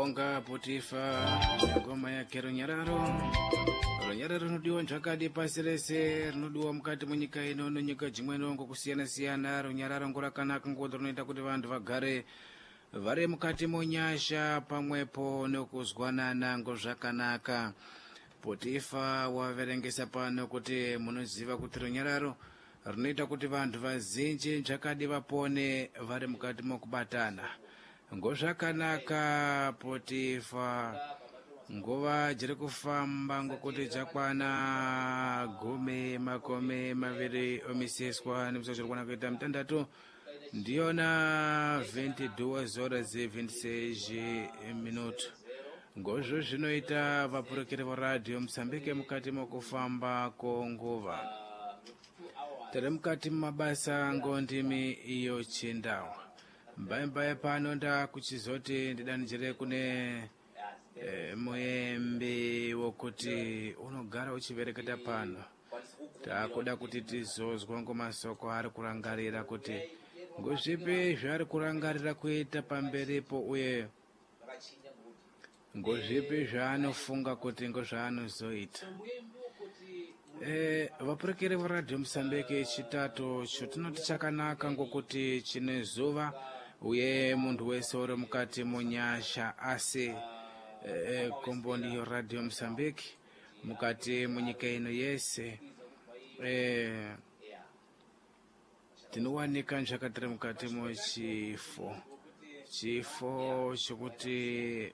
Tinobonga Potifa ngoma yake runyararo. Runyararo runodiwa nzvakadi pasi rese, rinodiwa mukati munyika ino nenyika dzimweni ngokusiyana siyana. Runyararo ngorakanaka ngokuti runoita kuti vantu vagare vari mukati munyasha pamwepo nekuzwanana ngozvakanaka. Potifa waverengesa pano kuti munoziva kuti runyararo runoita kuti vantu vazinji nzvakadi vapone vari mukati mokubatana ngozvakanaka. Potifa, nguva dziri kufamba ngokuti dzakwana 22 omiseswa nemusochero kwana kuita mutandatu ndiyona 22 horas 26 minuto. Ngozvo zvinoita vapurukiri va radio Mosambike mukati mokufamba konguva tiri mukati mumabasa ngondimi iyo chindau mbaimbai pano ndakuchizoti ndidanijire kune muembi wokuti unogara uchivereketa pano. Takuda kuti tizozwa ngomasoko ari kurangarira kuti ngozvipi zvaari kurangarira kuita pamberipo uye ngozvipi zvaanofunga kuti ngozvaanozoita. Vapurekeri veradio Mosambike, chitatu chotinoti chakanaka ngokuti chine zuva uye muntu wese uri mukati munyasha. Asi komboni yo Radio Mosambike mukati munyika ino yese tinowanika nzvakatiri mukati muchifo chifo chokuti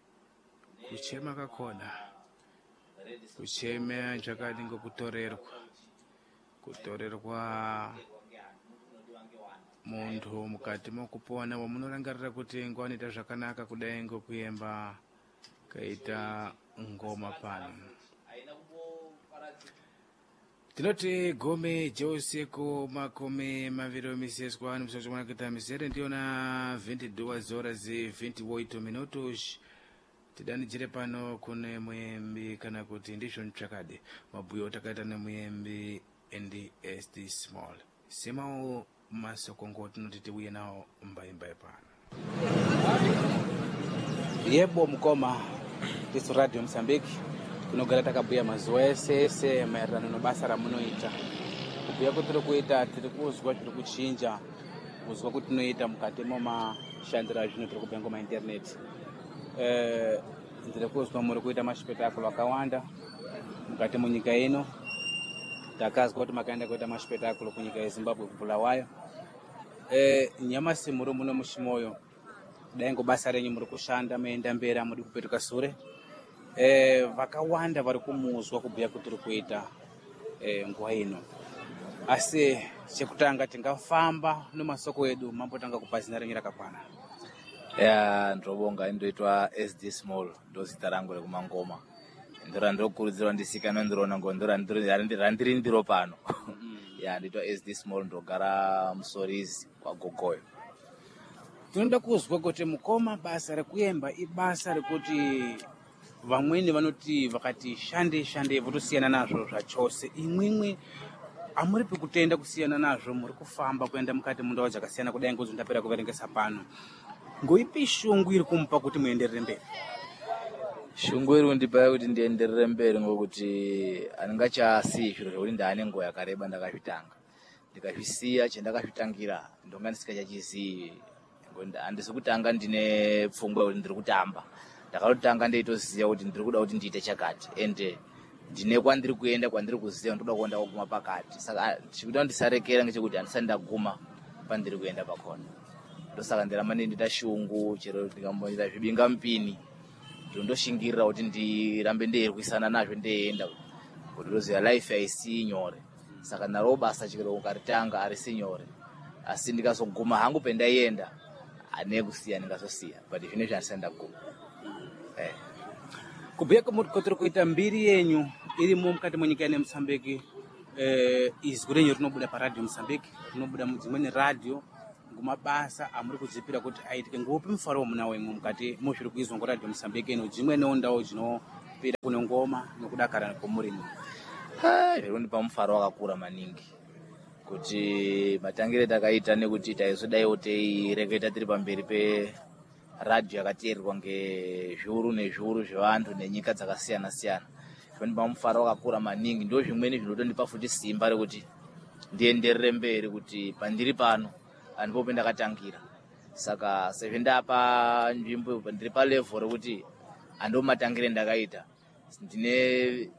kuchema kakona kuchema nzvakadi ngokutorerwa kutorerwa muntu mukati mokupona wamunorangarira kuti ngoanoita zvakanaka kudai ngokuyemba kaita ngoma pano. Tinoti 10 jeusiku 20 omiseswa nimusochomwana kuita misere ndiyona 22 horas 28 minutos. Tidanidzire pano kune muembi kana kuti ndizvo ntsvakadi mabhuyo takaita nemuyembi ndi SD Small simawo masoko ngo tinoti tiuye nawo mbaimbai pano. Yebo mukoma, tisu Radio Mosambiki tinogara takabhuya mazuva ese ese maererano nebasa ramunoita. Kubhuya kwetiri kuita, tiri kuzwa zviri kuchinja, kuzwa kwetinoita mukati momashandiro azvino tiri kubhuya ngomaindaneti. Ndiri kuzwa muri kuita mashipetakuro akawanda mukati munyika ino. Takazwa kuti makaenda kuita mashipetakuro kunyika yeZimbabwe, kuBulawayo. Nyamasi muri muno muChimoyo, dai ngobasa renyu muri kushanda muenda mberi, amudi kupetuka sure. Vakawanda vari kumuzwa kubhuya kuti uri kuita nguva ino. Asi chekutanga tingafamba nemasoko edu, mambotanga kupa zina renyu rakakwana. Ya, ndinobonga. Indoitwa SD Small, ndo zita rangu rekumangoma, ndo randinokurudzirwa ndisikana ndiriona ngo ndo randiri ndiro pano. Ya, ndoitwa SD Small, ndogara Musorizi kwaGogoyo. Tinoda kuzwa kuti mukoma, basa rekuyemba ibasa rekuti vamweni vanoti vakati shande shande votosiyana nazvo zvachose. Imwimwi amuripi kutenda kusiyana nazvo, muri kufamba kuenda mukati mundau dzakasiyana kudai ngozi ndapera kuverengesa pano. Ngoipi shungu iri kumupa kuti muenderere mberi? Shungu iri kundipa kuti ndienderere mberi ngokuti handingachasiyi zviro zvekuti ndaane nguva yakareba ndakazvitanga. Ndikazvisiya, chendakazvitangira ndonga ndisingachachizivi ngokuti handisi kutanga ndine pfungwa yekuti ndiri kutamba. Ndakatotanga ndeitoziva kuti ndiri kuda kuti ndiite chakati ende ndine kwandiri kuenda, kwandiri kuziva ndoda kuenda kuguma pakati. Saka chikuita kuti ndisarekera ngechekuti handisati ndaguma pandiri kuenda pakona. Ndosaka ndiramba ndeindoita shungu, chero ndikamboita zvibingamupini ndondoshingirira kuti ndirambe ndeirwisana nazvo ndeienda, kuti ndoziva life haisi nyore. Saka naro basa chero ukaritanga harisi nyore, asi ndikazoguma hangu pendaienda hane kusiya, ndingazosiya, but zvinezvi handisati ndaguma. Kubhuya kwatiri kuita, mbiri yenyu irimo mukati mwenyika ine Mosambiki. Izwi renyu rinobuda paradio Mosambiki, rinobuda mudzimweni radio ngomabasa amuri kudzipira kuti aitike. Ngopi mufaro wamunawo imwe mukati muzviri kuizwa ngoradio Mosambiki ino dzimweniwo ndau dzinopira kune ngoma nokudakara kwomurimo? Zviri kundipa mufaro wakakura maningi kuti matangire takaita nekuti taizodaiwo teireketa tiri pamberi. Radhiyo yakateererwa ngezviuru nezviuru zvevantu nenyika dzakasiyana siyana. Zvinondipa mufaro wakakura maningi. Ndo zvimweni zvinotondipa futi simba rekuti ndienderere mberi kuti pandiri pano andipo pendakatangira. Saka sezvo ndapa nzvimbo, ndiri palevhel rekuti ando matangire ndakaita, ndine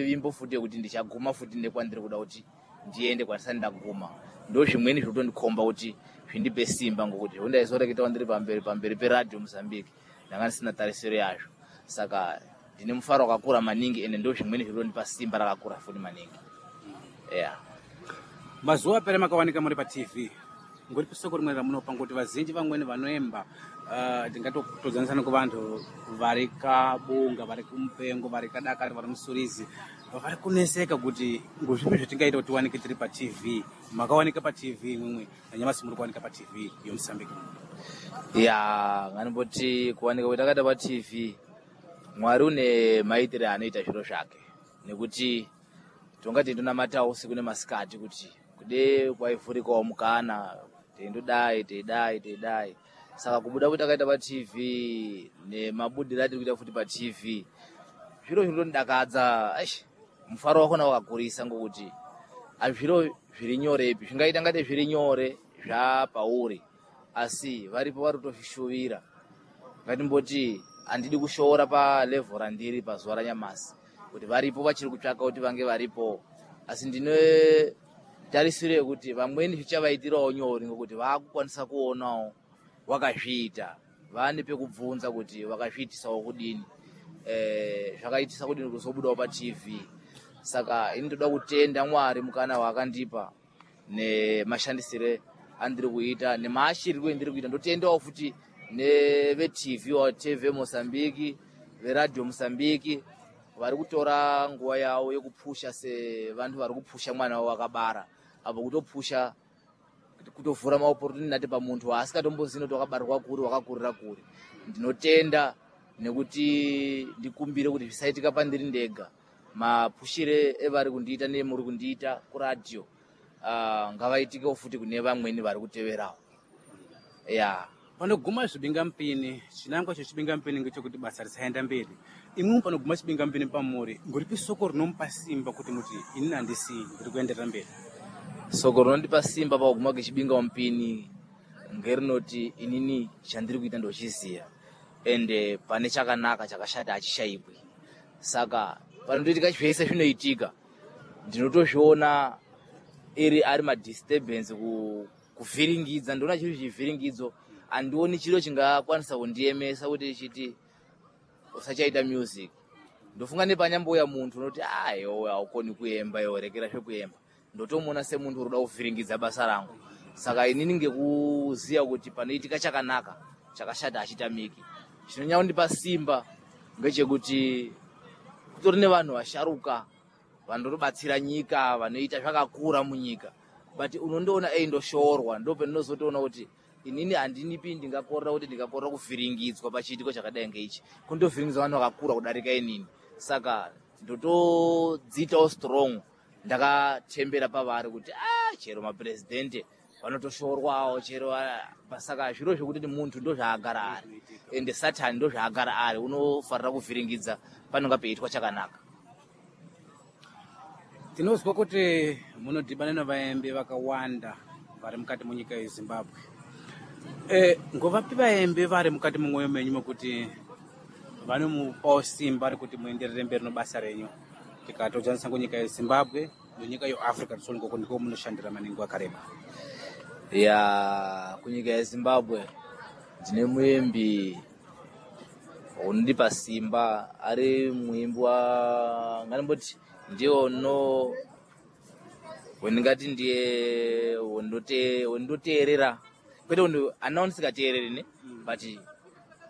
vimbo futi yekuti ndichaguma futi nekwandiri kuda kuti ndiende kwandisati ndaguma. Ndo zvimweni zvinotondikomba kuti zvindipe simba, ngokuti zvondaizoreketawo ndiri pamberi peRadhiyo Mozambique ndanga ndisina tarisiro yazvo. Saka ndine mufaro wakakura maningi, ende ndo zvimweni zvinotondipa simba rakakura futi maningi, yeah. Mazuva apera makawanika muri paTV. Ngoripi soko rimwe ramunopa? Ngokuti vazinji vamweni vanoemba, tingatotodzanisa kuvantu vari kabunga, vari kumupengo, vari kadakari, vari musurizi, vari kuneseka kuti ngozvipi zvatingaita kuti tiwanike tiri paTV. Makawanika paTV imwimwe, nanyamasi muri kuwanika paTV yoMosambiki. Ya, nganimboti kuwanika kwetakaita paTV, Mwari une maitire anoita zviro zvake, nekuti tonga teindonamatawo usiku nemasikati kuti kude kwaivhurikawo mukana, teindodai teidai teidai. Saka kubuda kwetakaita paTV nemabudiro atiri kuita futi paTV, zviro zvinotondidakadza. Aish, mufaro wakona wakakurisa, ngokuti azviro zviri nyorepi. Zvingaita ngate zviri nyore zvapauri, asi varipo vari kutozvishuvira. Ngatimboti handidi kushoora palevhel randiri pazuva ranyamasi, kuti varipo vachiri kutsvaka kuti vange varipo, asi ndine tarisiro yekuti vamweni zvichavaitirawo nyore, ngokuti vaakukwanisa kuonawo wakazviita, vaane pekubvunza kuti wakazviitisawo kudini, zvakaitisa kudini kuti uzobudawo paTV. Saka ini ndoda kutenda Mwari mukana waakandipa nemashandisire andiri kuita nemaashirirwe endiri kuita. Ndotendawo futi neveTV waTV Mozambique, veRadhiyo Mozambique, vari kutora nguva yavo yekupusha sevantu vari kupusha mwana wavo wakabara apo, kutopusha, kutovhura maopportunity pamuntu waasikatombozivi kuti wakabarirwa kuri, wakakurira kuri. Ndinotenda nekuti ndikumbire kuti zvisaitika pandiri ndega. Mapushire evari kundiita nemuri kundiita kuradhiyo, ngavaitikewo futi kune vamweni vari kuteverawo, ya. Panoguma zvibingampini, chinangwa chechibingampini ngechekuti basa risaenda mberi. Imwimwi panoguma chibingampini pamuri, ngoripi soko rinomupa simba kuti muti inini handisii, ndiri kuenderera mberi? Soko rinondipa simba pakuguma kwechibingampini ngerinoti inini chandiri kuita ndochiziya, ende pane chakanaka chakashata hachishaikwi. Saka panotoitika zvese zvinoitika, ndinotozviona iri ari madisturbance, kuvhiringidza. Ndoona chiri chivhiringidzo, handioni chiro chingakwanisa kundiemesa kuti chiti usachaita music. Ndofunga nepanyambouya muntu unoti, "Ah, iwe haukoni kuemba, iwe rekera zvekuemba," ndotomuona semuntu uri kuda kuvhiringidza basa rangu. Saka inini ngekuziya kuti panoitika chakanaka chakashata hachitamiki, chinonyanya kundipa simba ngechekuti kutori nevanhu vasharuka vanotobatsira nyika, vanoita zvakakura munyika, but unondoona eindoshoorwa. Ndo pendinozotoona kuti inini handinipi ndingakorera kuti ndingakorera kuvhiringidzwa pachiitiko chakadai ngeichi, kundovhiringidza vanhu vakakura kudarika inini. Saka ndotodziitawo strong, ndakatembera pavari kuti a chero mapurezidendi vanotoshorwawo chero. Saka zviro zvekuti muntu ndozvaagara ari, ende Satani ndozvaagara ari, unofarira kuvhiringidza panonga peiitwa chakanaka. Tinozwa kuti munodhibana nevaembi vakawanda vari mukati munyika yeZimbabwe. Ngovapi vaembi vari mukati mumwoyo menyu mekuti vanomupawo simba rekuti muenderere mberi nebasa renyu, tikatodzanisa kunyika yeZimbabwe nenyika yeAfrica tsoni, ngoko ndiko munoshandira maningi wakareba? Ya, kunyika yeZimbabwe ndine muembi unondipa simba, ari muimbi wa nganimboti ndiye uno wendingati ndiye wendinoteerera, kwete kuti anawo ndisikateereri ne, but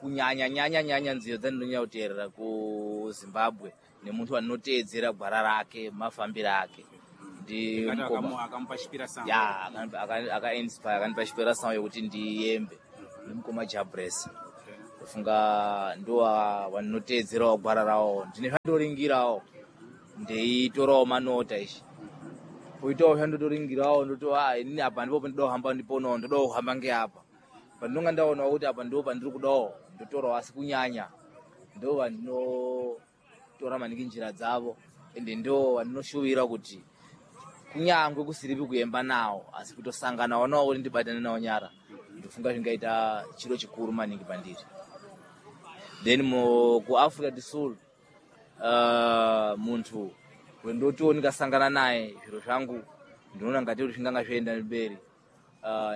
kunyanya nyanya nyanya nziyo dzandinonyanya kuteerera kuZimbabwe nemuntu wandinoteedzera gwara rake, mafambiro ake, ndi Ndingati mukoma akamupa chipira sound. Ya, akainspire, akandipa chipira sound yekuti ndiyembe, ndimukoma Jabres. Ndofunga ndo wandinoteedzerawo gwara rawo. Ndine zvandoringirawo, ndeitorawo manota ishi, poitawo zvandotoringirawo, ndoto, "Ah, inini apa ndipo pendoda kuhamba, ndiponawo ndoda kuhamba ngeapa." Pandinonga ndaonawo kuti apa ndo pandiri kudawo, ndotorawo, asi kunyanya ndo vandinotora maningi njira dzavo, ende ndo vandinoshuvira kuti kunyangwe kusiripi kuemba nawo, asi kutosanganawo nawo kuti ndibatane nawo nyara, ndofunga zvingaita chiro chikuru maningi pandiri. Then kuAfrica do Sul, muntu wendotiwo ndikasangana naye zviro zvangu ndinoona ngati kuti zvinganga zvoenda mberi,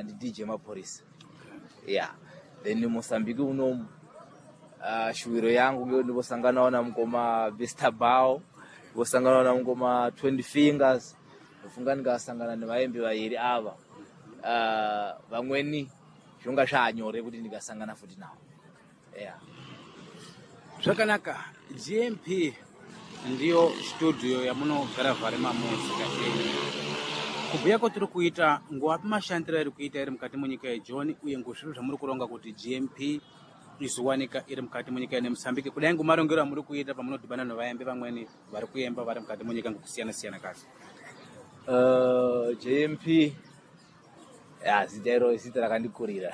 ndi DJ Maphorisa. Yeah, then Mozambique unomu, shuwiro yangu ngekuti ndimbosanganawo namukoma Mr Bao, ndimbosanganawo namukoma 20 Fingers. Ndofunga ndikasangana nevaembi vairi ava, vamweni zvinonga zvanyore kuti ndikasangana futi navo, yeah. Zvakanaka. GMP ndiyo studio yamunogara vhare mamuzika enyu. Kubhuya kwatiri kuita, ngoapi mashandiro ari kuita iri mukati munyika yeJoni, uye ngozvipi zvamuri kuronga kuti GMP izowanika iri mukati munyika ine Mosambike, kudai ngomarongero amuri kuita pamunodhibana nevaembi vamweni vari kuemba vari mukati munyika ngokusiyana siyana kazi? JMP ya, zita iro zita rakandikurira,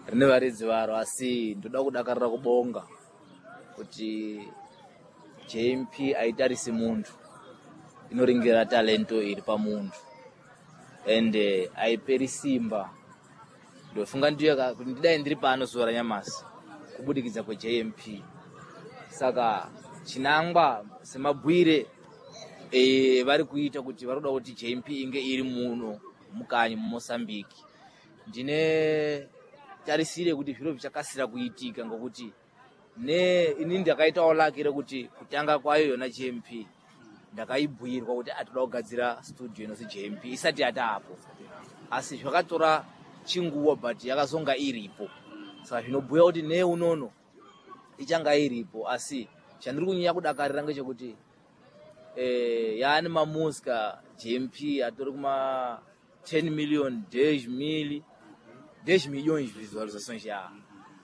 rine varidzi varo, asi ndoda kudakarira kubonga kuti JMP aitarisi muntu, inoringira talento iri pamuntu ende aiperi simba. Ndofunga ndiyo kuti ndidai ndiri pano zuva ranyamasi kubudikidza kweJMP. Saka chinangwa semabwire vari kuita kuti vari kuda kuti JMP inge iri muno mukanyi muMosambiki, ndine tarisire kuti zviro zvichakasira kuitika, ngokuti ne inini ndakaitawo laki rekuti kutanga kwayo yona JMP ndakaibhuyirwa kuti atoda kugadzira studio inozi JMP isati yataapo, asi zvakatora chinguva, but yakazonga iripo. Saka zvinobhuya kuti ne unono ichanga iripo. Asi chandiri kunyanya kudakarira ngechekuti yaane mamusika JMP atori kuma 10 million, 10 mil, 10 millions visualizations ya.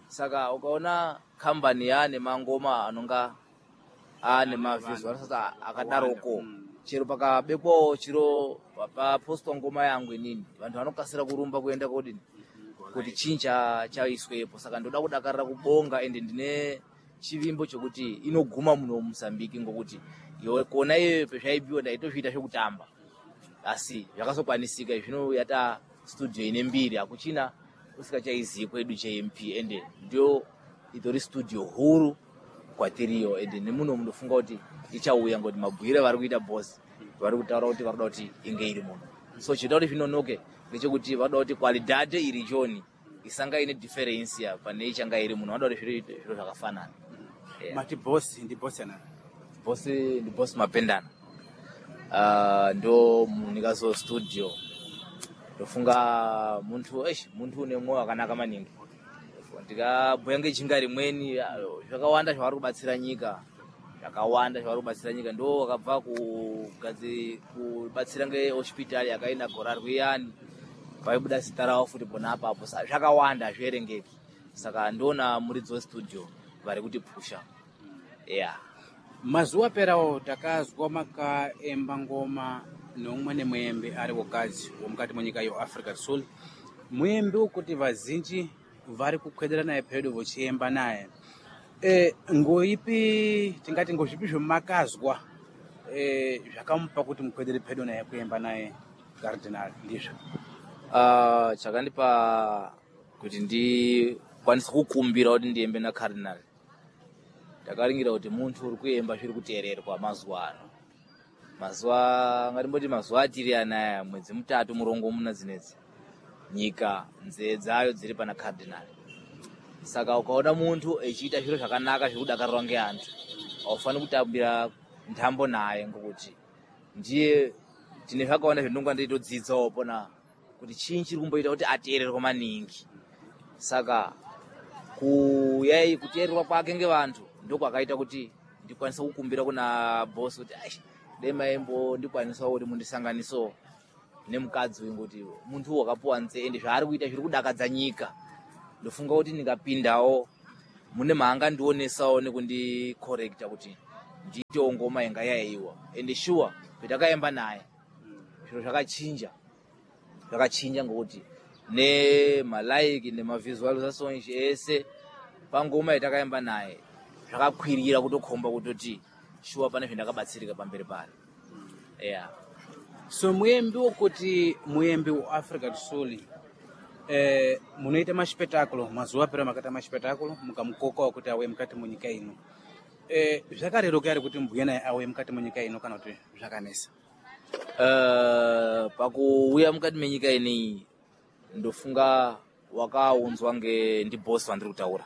Saka ukaona kambani yaane mangoma anonga ane mavisualizations akadaroko, chero pakabekwawo chiro, papostwa ngoma yangu inini, vanhu vanokasira kurumba kuenda kodini kuti chii chaiswepo. Saka ndoda kudakarira kubonga, ende ndine chivimbo chokuti inoguma muno muMozambique, ngokuti kona iyoyo pezvaibiwa ndaitozviita zvekutamba, asi zvakazokwanisika. Zvino yata studio ine mbiri, hakuchina usikachaizii kwedu JMP, ende ndio itori studio huru kwatiriyo. Ende nemuno munofunga kuti ichauya, ngokuti mabhuire vari kuita boss vari kutaura kuti vari kuda kuti inge iri muno. So chinoita kuti zvinonoke ngechekuti vanoda kuti qualidade iri joni isanga ine difference pane ichanga iri muno, vanoda kuti zviro zvakafanana. Yeah. Mati boss ndi boss anani? Boss ndi boss Mapendana. Ndo munikazo studio. Ndofunga muntu eish, muntu une mwoyo wakanaka maningi. Ndikabhuya ngejinga rimweni, zvakawanda zvavari kubatsira nyika, zvakawanda zvavari kubatsira nyika. Ndo wakabva kubatsira ngehospitali yakaina gora rwiyani, paibuda zita ravo futi pona apapo. Saka zvakawanda, hazvierengeki. Saka ndona muridzi westudio vari kutipusha, yeah. Mazuva aperawo takazwa makaemba ngoma neumweni muembi ari wokadzi womukati mwenyika yeAfrica Sul, muembi wekuti vazinji vari kukhwedera naye pedo vochiemba naye. Ngoipi tingati ngozvipi zvemakazwa zvakamupa kuti mukhwedere pedo naye kuemba naye Cardinal ndizvo? Chakandipa kuti ndikwanise kukumbira kuti ndiembe naCardinal, ndakaringira kuti muntu uri kuemba zviri kuteererwa mazuva ano, mazuva ngatimboti mazuva atiri anaya, mwedzi mutatu murongomuna dzinedzi, nyika nzee dzayo dziri pana Cardinal. Saka ukaona muntu echiita zviro zvakanaka zviri kudakarirwa ngeantu, aufani kutambira ntambo naye, ngokuti ndiye tine zvakawanda zvendinonga ndeitodzidzawo pona kuti chii chiri kumboita kuti ateererwe maningi. Saka kuyai kuteererwa kwake ngevantu ndokwakaita kuti ndikwanise kukumbira kuna boss kuti ai dai maimbo ndikwanisawo kuti mundisanganisewo nemukadzi uyu, ngokuti muntu wakapuwa nzee ende zvaari kuita zviri kudakadza nyika. Ndofunga kuti ndingapindawo mune maangandionesawo nekundikorekta kuti ndiitewo ngoma inga yaiwa. Ende shuwa petakaemba naye zviro zvakachinja, zvakachinja ngokuti Nemalike nemavisualizations ese pangoma yatakaimba naye zvakakwirira kutokhomba kutoti shuwa pane zvendakabatsirika pamberi pano, yeah. So muyembi wokuti muyembi wa Africa do Sul, munoita maspetáculo mazuva apera, makaita maspetáculo mukamukoka kuti auye mukati munyika ino. Zvakareruka here kuti mbuya naye auye mukati munyika ino kana kuti zvakanesa? Pakuuya mukati menyika ineyi, ndofunga wakaunzwa ndibosi vandiri kutaura.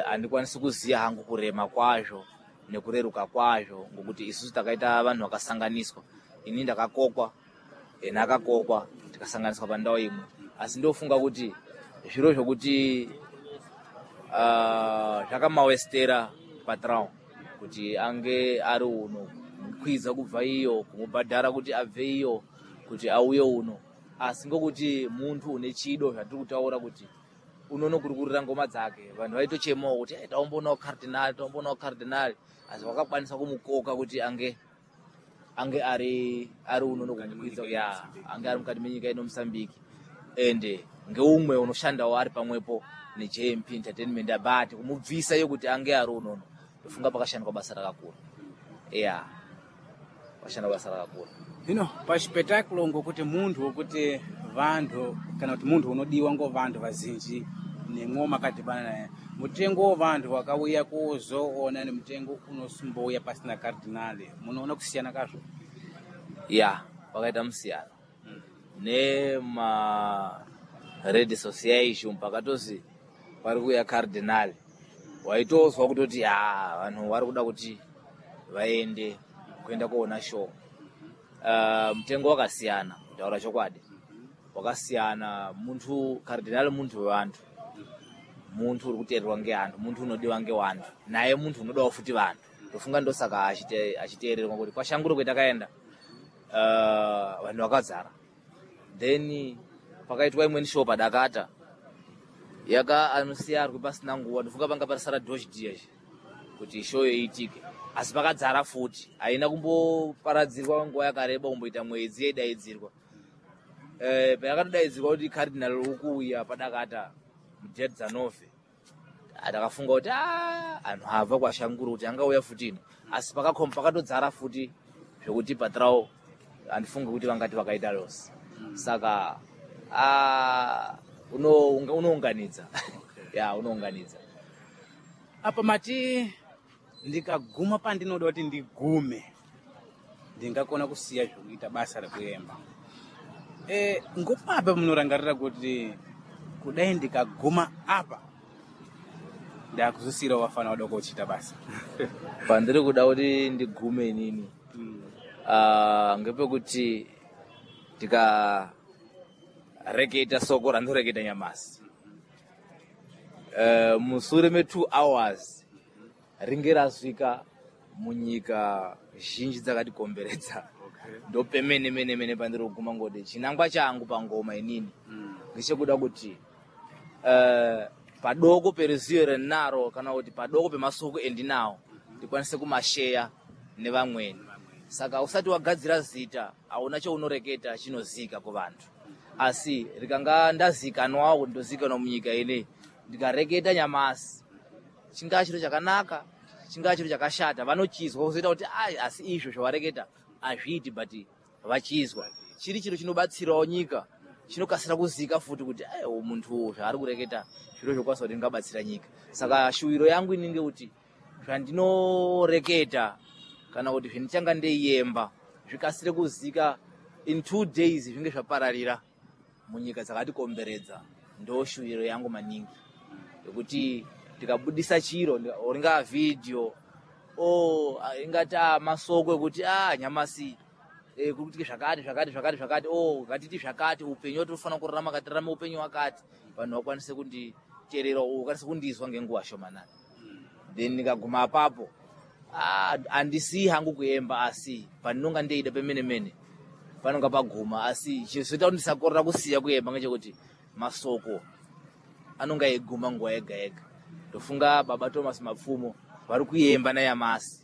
Handikwanisi kuziya hangu kurema kwazvo nekureruka kwazvo, ngokuti isusu takaita vanhu vakasanganiswa. Ini ndakakokwa, ena akakokwa, tikasanganiswa pandau imwe. Asi ndofunga kuti zviro zvokuti zvakamawestera patrão kuti ange ari uno, kumukwidza kubva iyo, kumubhadhara kuti abve iyo kuti auye uno. Asi ngokuti muntu une chido, zvatiri kutaura kuti unonokurukurira ngoma dzake, vanhu vaitochemawo kuti, "Hey, taomboonawo Cardinal, taomboonawo Cardinal." Asi vakakwanisa kumukoka kuti ange ari unono kumukwidza, ya, ange ari mukati menyika ino Mosambiki. Ende ngeumwe unoshandawo ari pamwepo neJMP Entertainment, but kumubvisa iyo kuti ange ari unono, ndofunga pakashandwa basa rakakura, ya, pakashandwa basa rakakura. Hino paspetáculo, ngokuti munthu wokuti vanthu kana kuti munthu unodiwa ngo vanthu vazinji, nemwo makadhibana naye, mutengo wo vanthu wakauya kuzoona nemutengo unosumbouya pasina Cardinal, munoona kusiyana kazvo? Ya, pakaita musiyano. Nema red association pakatozi pari kuuya Cardinal, waitozwa kutoti ha, vanhu vari kuda kuti vaende kuenda kuona show. Mutengo wakasiyana, kutaura chokwadi wakasiyana. Muntu Cardinal muntu wevantu, muntu uri kuteererwa ngeantu, muntu unodiwa ngewantu, naye muntu unodawo futi vantu. Ndofunga ndosaka achiteererwa, kuti kwashanguro kwetakaenda, vanhu vakazara. Then pakaitwa imweni show padakata yaka anosiyarwe pasina nguva, ndofunga panga pasara dosh dias kuti show iitike, asi pakadzara futi. Haina kumboparadzirwa nguva yakareba, kumboita mwedzi yaidaidzirwa. Payakatodaidzirwa kuti Cardinal ukuuya padakata mudate dzanove, takafunga kuti anhu abva kwashanguro kuti angauya futi ino, asi pakakhomba pakatodzara futi zvekuti patrao handifungi kuti vangati vakaita loss. Saka unounganidza, ya, unounganidza. Apa mati ndikaguma pandinoda kuti ndigume, ndingakona kusiya zvokuita basa rekuemba. Ngopapa munorangarira kuti kudai ndikaguma apa, ndakuzosiyirawo vafana vadoko kuchiita basa? Pandiri kuda kuti ndigume inini, ngepekuti ndikareketa soko randoreketa nyamasi, musure me2 hours ringe rasvika munyika zhinji dzakatikomberedza. Ndopemene mene mene pandiri kuguma, ngoti chinangwa changu pangoma inini ngechekuda kuti padoko peruzivo renaro kana kuti padoko pemasoko endinawo ndikwanise kumasheya nevamweni. Saka usati wagadzira zita, hauna chaunoreketa chinozika kuvantu. Asi rikanga ndazikanwawo kuti ndozikanwa munyika ineyi, ndikareketa nyamasi, chingaa chiro chakanaka, chingaa chiro chakashata, vanochizwa kuzoita kuti ai, asi izvo zvawareketa hazviiti, but vachizwa chiri chiro chinobatsirawo nyika, chinokasira kuzika futi kuti ai, uyu muntu zvaari kureketa zviro zvokwanisa kuti ndingabatsira nyika. Saka shuwiro yangu inenge kuti zvandinoreketa kana kuti zvendichanga ndeiyemba zvikasire kuzika in 2 days, zvinge zvapararira munyika dzakatikomberedza. Ndo shuwiro yangu maningi, yekuti ndikabudisa chiro, ringaa vhidhiyo o ingati masoko ekuti nyamasi kuri kuitika zvakati zvakati zvakati zvakati, o ngatiti zvakati, upenyu watinofanira kurarama, ngatirarame upenyu wakati, vanhu vakwanise kunditeerera, vakwanise kundizwa ngenguva shomanani. Then ndikaguma apapo, handisii hangu kuemba, asi pandinonga ndeida pemene mene panonga paguma. Asi chizoita kuti ndisakorera kusiya kuemba ngechekuti masoko anonga eiguma nguva yega yega. Ndofunga baba Thomas Mapfumo vari kuemba nayamasi.